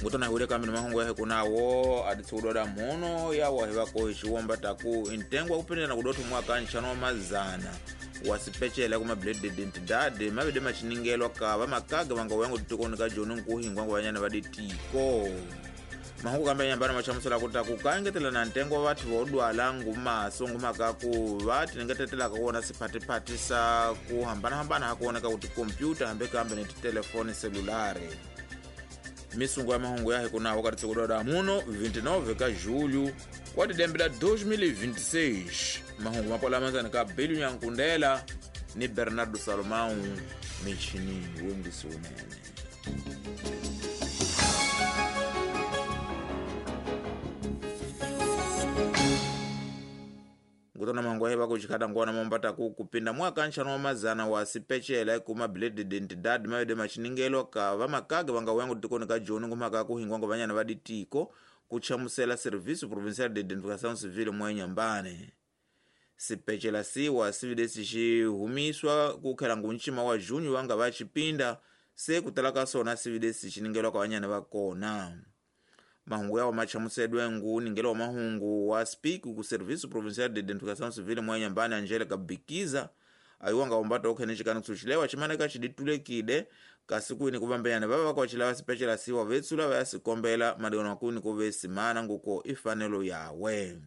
Ngutona hule kambe ni mahungu ya hikunawo aditsukudoda muno yawa hivako xiwomba taku intengo wa kupindana kudotho mwaka nxano wa mazana wasipecela kuma blade identidade mavide maxiningelwa ka vamakaga vanga wangu titikoni ka joni nkuhingwangu vanyana va ditiko. Mahungu kambe nyambana machamusela ku taku kaengetela na ntengo wa vathu vo ngumaso ngumaka ku va tinengetetelaka kuwona siphatiphathi sa ku hambanahambana ha kuwoneka ku tikhompyuta hambe kambe ni titelefoni selulare. Misungu ya mahungu ya hikunawo ka titsikudoda muno 29 ka julho wa didembe 2026. Mahungu mapola manzani ka Bilu Nyankundela ni Bernardo Salomão michinini wengisi unene. Ngutona mahungu ya kuchikata ngwana mombata ku kupinda mwaka nxano wa mazana wa sipecela kuma blade identidade mavide machiningelo ka vamakaga vanga wangu tikoni ka joni ngumaka kuhingwangu vanyana va ditiko kuchamusela Serviço Provincial de Identificação Civil mwa Inhambane. Sipecela siwa sividesi xihumiswa kukhela ngunchima wa junho wanga va xipinda se kutala ka sona sividesi xiningelwa ka vanyana va kona. Mahungu yawo machamusedwe ngu ningelo wa mahungu wa speak ku Serviço Provincial de Identificação Civil mwa Inhambane Angelica Bikiza ayiwanga umbata okhene xikani kusuxilewa ximaneka xiditulekile kasi kwini kuvambenyana vava vakwacilava sipecela siwa vetsula va ya sikombela madikano kwini kuve simana nguko ifanelo yawe.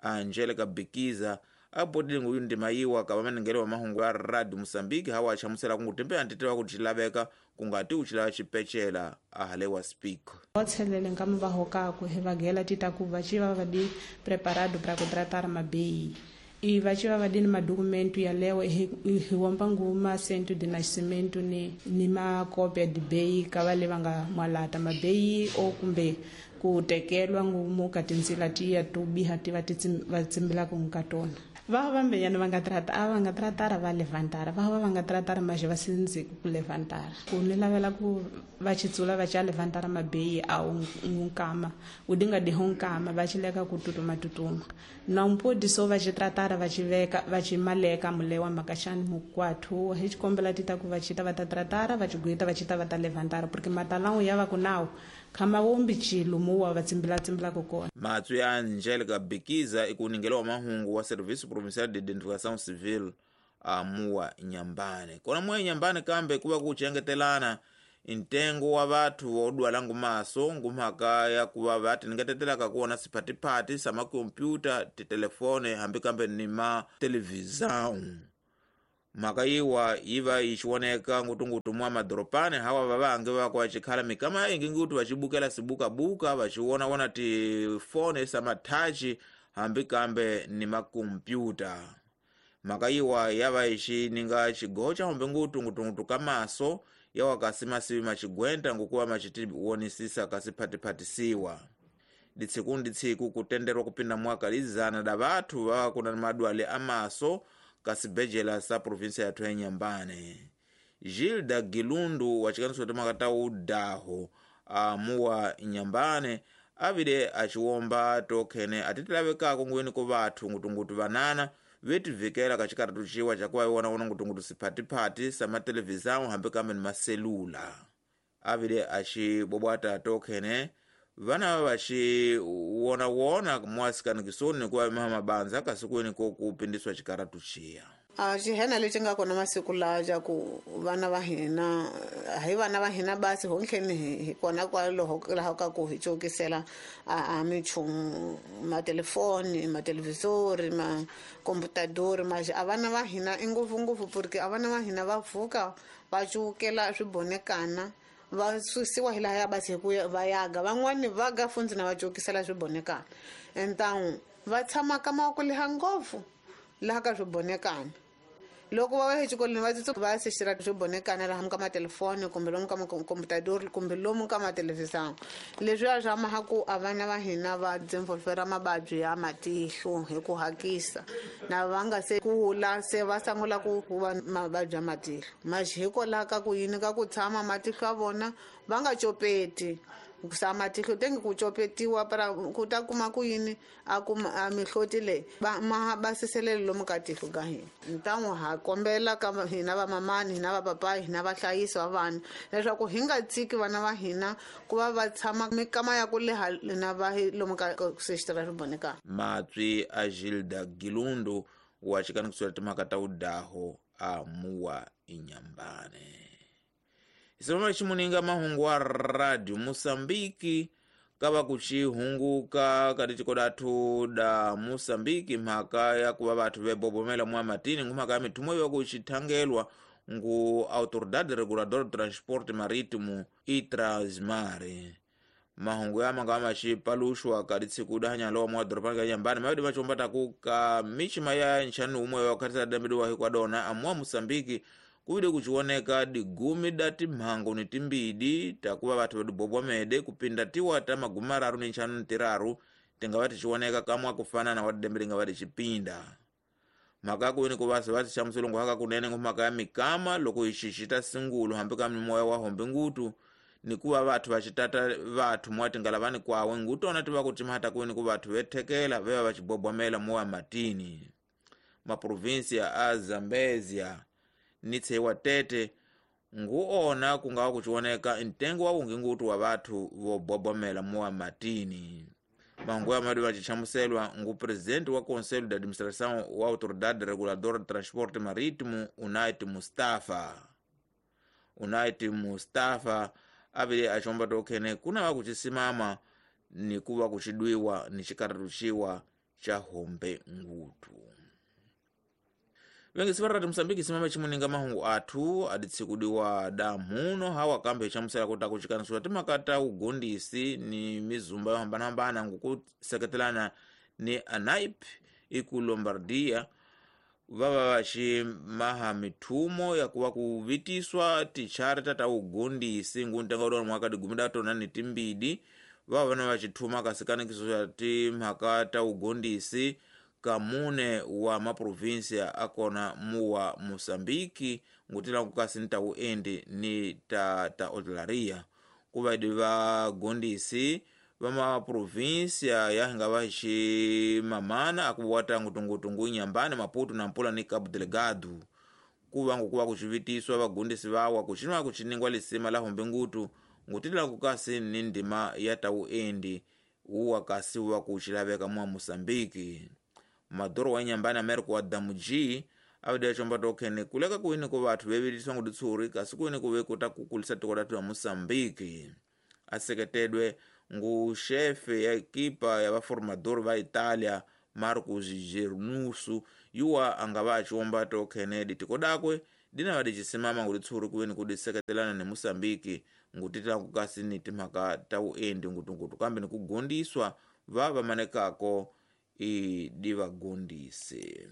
Angelica Bikiza abodile nguyu ndima yiwa ka vamaningelo wa mahungu ya Radio Mozambique hawa achamusela kungu tembe antitewa kuti xilaveka kungati uchilava xipecela ahalewa speak. Otselele nkama va hokako hi vagela tita ku va xi va va di preparado para ku tratar mabei. E va xi va va di ni madokumento ya lewa hi womba nguma cento de nascimento ni makopia de bei ka va le va nga mwalata mabei o kumbe ku tekelwa ngumu ka tindzila tiya to biha ti va va tsimbilaka ka tona. Va vambenyana va nga trata a va nga tratara va levantara va va nga tratara maje va sindzi ku levantara ku ni lavela ku va xitsula va xa levantara mabei a nkama u dinga di nkama va xileka ku tutuma tutuma na mpodi so va xi tratara va xi veka va xi maleka mulewa makaxani mukwathu hi xikombela tita ku va xita va ta tratara va xiguita va xita va ta levantara porque matalangu ya va ku nawu khama wombi xilumu wa va tsimbila tsimbilaka kona. Matswi ya Angelica Bikiza ikuningelo wa mahungu wa Serviço Provincial de Identificação Civil amuwa Inhambane. Kona muwa Inhambane kambe kuva kuchengetelana intengo wa vathu vodwala ngumaso ngumhaka ya kuva va tinengetetelaka kuwona siphatiphathi sa makompyuta titelefone hambi kambe ni ma televisão. Mhaka yiwa yiva yi xiwoneka ngutungutu mwa madoropani hawa vavange va kwa xikhala mikama ingi ngutu va xibukela sibukabuka va xiwonawona tifone sa mathachi hambi kambe ni makompyuta. Mhaka yiwa yava yi xininga xigocha humbe ngutu ngutungutu ka maso yawa kasi masivi maxigwenta ngukuva maxitiwonisisa kasi phatiphatisiwa. Ditsiku ni ditsiku kutenderwa kupinda mwaka lizana da vathu va kuna madwale amaso kasibejela sa província yathu ya Inhambane. Gilda Gilundu wa xikaniso timhaka udaho amuwa Inhambane avile axiwomba tokhene atitilavekako ngweni ku vathu ngutungutu vanana vetivikela ka xikaratu xiwa xa ku va wona ngutungutu siphatiphathi sa matelevisão hambi kambe ni maselula. Avile axibobwata tokhene vana va xi wonawona mwasikanikiso ku va mabanza kasi kwini ko ku pindiswa xikaratu xiya. A xihena lexi nga kona masiku lawa xa ku vana va hina hi vana va hina basi hontlheni hi kona kwaloho laha ka ku hi cokisela a minchumu matelefoni matelevisori makomputadori maxi a vana va hina i ngopfungopfu porque a vana va hina va pfuka va cukela swibonekana va susiwa hi laha ya basi hi ku va yaga van'wani va ga fundzi na va cokisela swibonekana entangu va tshama ka mavoko leha ngopfu laha ka swibonekana loko va ya exikolweni va tsutsu va sexira swibonekana laha ka matelefoni kumbe lomu ka makomputadori kumbe lomu ka matelevisão leswiya swa maha ku a vana va hina va desenvolvera mavabyi ya matihlo hi ku hakisa na va nga se kula se va sungula ku va mavabyi ya matihlo maxi hikwalaho ka ku yini ka ku tshama matihlo ya vona va nga copeti Sa matihlo tenge ku copetiwa para ku ta kuma ku yini a kuma a mihloti leyi ma basiselele lomu ka tihlo ka hina. Ntan'wu ha kombela ka hina vamamani, hina vapapayi, hina vahlayisi va vana leswaku hi nga tshiki vana va hina ku va va tshama mikama ya ku leha na va lomu ka sexitira swi bonekaka. Matswi a Gilda Gilundu wa xikanikiso timhaka ta udaho a muwa inyambane. Isimama ximuninga mahungu wa Radio Mosambiki kava kuchihunguka kati tikodathu da Mosambiki mhaka ya kuva vathu vebobomela mwa matini ngumhaka ya mithumo yo kuchithangelwa ngu Autoridade Reguladora do Transporte Marítimo e Transmare. Mahungu ya manga maxipaluxwa ka ditsikuda hanyalowa mwa doropani ka nyambani mavedi machombataku ka michima ya nxanu umwe wa khatisa dambediwa hikwadona amuwa Mosambiki kuvide kuchioneka digumi da timhango ni timbidi takuva vathu vedibobwamede kupinda tiwa ta magumi mararu ni nxanu ni tiraru tingava tichioneka kamwa kufanana wa tidembe tingava tichipinda. Mhaka kuini kuvasa va tixamuselongo haka kunene ngumhaka ya mikama loko ixixi ta singulu hambi ka mimoya wa hombe ngutu ni kuva vathu vachitata vathu mwa tingalavani kwawe ngutona tiva kutimhata kuini ku vathu vethekela veva vachibobwamela mowa matini. Maprovinsia a Zambezia ni tshewa tete nguona kungawa kuchioneka ntengo wa ungi ngutu wa vathu vobobomela mowa matini. Mahungu ya madu vachichamuselwa ngu presidente wa Conselho de Administração wa Autoridade Reguladora de Transporte Marítimo Unait Mustafa. Unait Mustafa avile achomba tokhene kuna vakuchisimama ni kuva kuchidwiwa ni chikaratuchiwa cha hombe ngutu. Vengisi va Radio Mosambiki simama chimuninga mahungu athu aditsikudiwa damuno hawa kambe chamusela kuta kuchikanisiwa timhaka ta ugondisi ni mizumba yo hambanahambana ngukuseketelana ni ANAIP iku Lombardia vava vaximaha mithumo ya kuva kuvitiswa ticharta ta ugondisi nguntenga udona mwaka digumi da tona ni timbidi vava vana vachithuma kasikanikiso xa timhaka ta ugondisi kamune wa maprovinsia akona muwa Mosambiki ngutila kukasi ni tauendi ni ta hotelaria kuvaidi vagondisi va maprovinsia yahinga vaximamana akuwata ngutungutungu Inhambane, Maputo, Nampula ni Cabo Delgado kuva ngukuva kuxivitiswa vagondisi vawa kuxinwa kuxiningwa lisima la hombe ngutu ngutila kukasi ni ndima ya tauendi uwa kasi wa kuxilaveka mwa Mosambiki. Madoro wa Inhambane Amerika wa Damuji avide chomba tokhene kuleka kuini ku vathu vevitiswa nguditsuri kasi kuini kuve kuta kukulisa tiko lathu ya Mosambiki. Aseketedwe ngu xefe ya ekipa ya vaformador va Italia Marcos Gernusu yuwa anga va achiomba tokhene ditiko dakwe dina vadichisimama nguditsuri kuini kudiseketelana ni Mosambiki ngutitila kukasi ni timhaka ta uendi ngutungutu kambe ni kugondiswa va vamanekako idivagondise.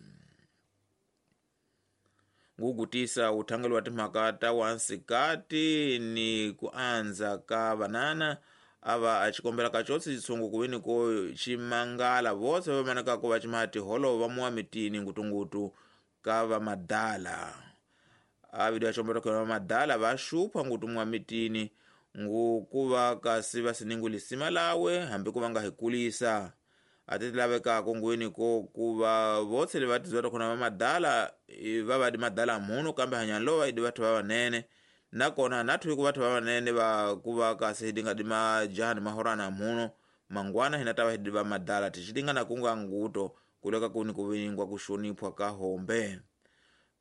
Ngugutisa uthangelo wa timhaka ta wansikati ni kuanza ka vanana ava achikombela kachotse chitsungu kuwini ko chimangala vose vamanekako vachimaha tiholo va muwa mitini ngutungutu ka vamadala. Avidi achombela ka vamadala vaxupha ngutu muwa mitini ngukuva kasi vasiningu lisima lawe hambi ku va nga hikulisa. Atitilavekako ngwini ko kuva votse levatizwa takhona vamadala va vadi madala muno kambe hanyalo idi vathu vavanene nakona nathu iku vathu vavanene va kuva kasi hidinga di majaha ni mahorana muno mangwana hina tava hidi va madala tixitingana kunga nguto kuleka kuni kuvingwa kuxoniphwa ka hombe.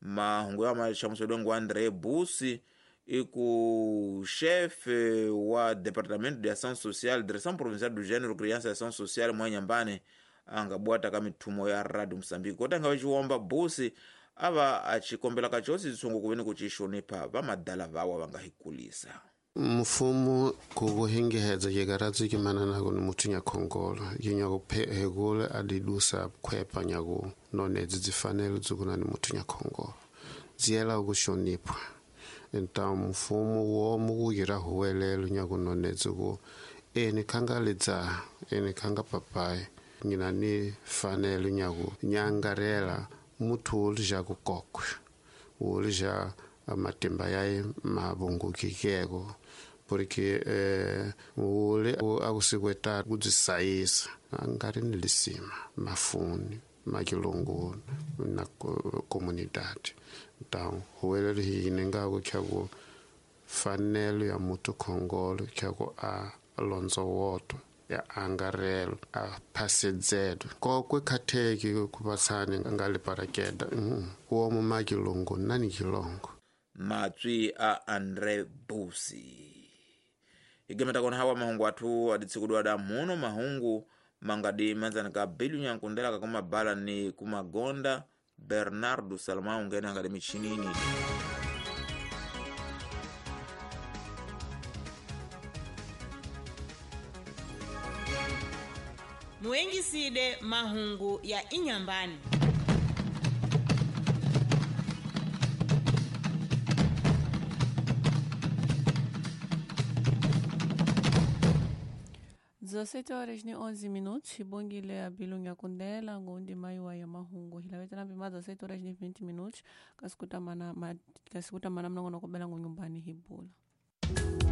Mahungu ya maxamuselwe ngu André Busi iku chefe wa Departamento de Ação Social, Direção Provincial do Gênero, Criança e Ação Social mwa Inhambane angabwata ka mithumo ya Radio Mosambiki kota anga vaxiwomba Busi ava achikombela kachotse chitsungu kuveni kuchixonipha vamadala vawa va nga hikulisa. Mfumo kukuhengehedza yekaratso kimananako ni muthu nyakhongolo yinyako hekule adidusa khwepa nyaku nonedzi dzifanelo dzikuna ni muthu nyakhongolo dziyela kuxoniphwa. Então mfumo womu kuyira huwelelo nyakunonetsa ku eni khanga lidzaha eni khanga papai ngina ni fanelo nyaku nyangarela muthu wo lija kukokwe wo lija matimba yaye mavungukikeko Porque ule akusikweta kudzisayisa angari ni lisima mafuni makilongo na comunidade. Então huwelelo hine ngako kyaku fanelo ya mutu khongolo kyaku a londzo ya angarelo a phasedzelo kokwe khatheki kupatsani nga le parakeda womo makilongo nani kilongo. Matswi a Andre Busi igemeta kona hawa mahungu athu aditsikudwa da muno mahungu mangadi manzana ka bilu nyankundela kakumabala ni kumagonda Bernardo Salomão ngene angadi michinini. Muengiside mahungu ya inyambani. Horas e 11 minutos, xibongile a bilunga kundela ngundi maiwa ya mahungu hilavetela mpima 17 horas e 20 minutos kasikutamana mnongono kobela ngunyumbani hibula.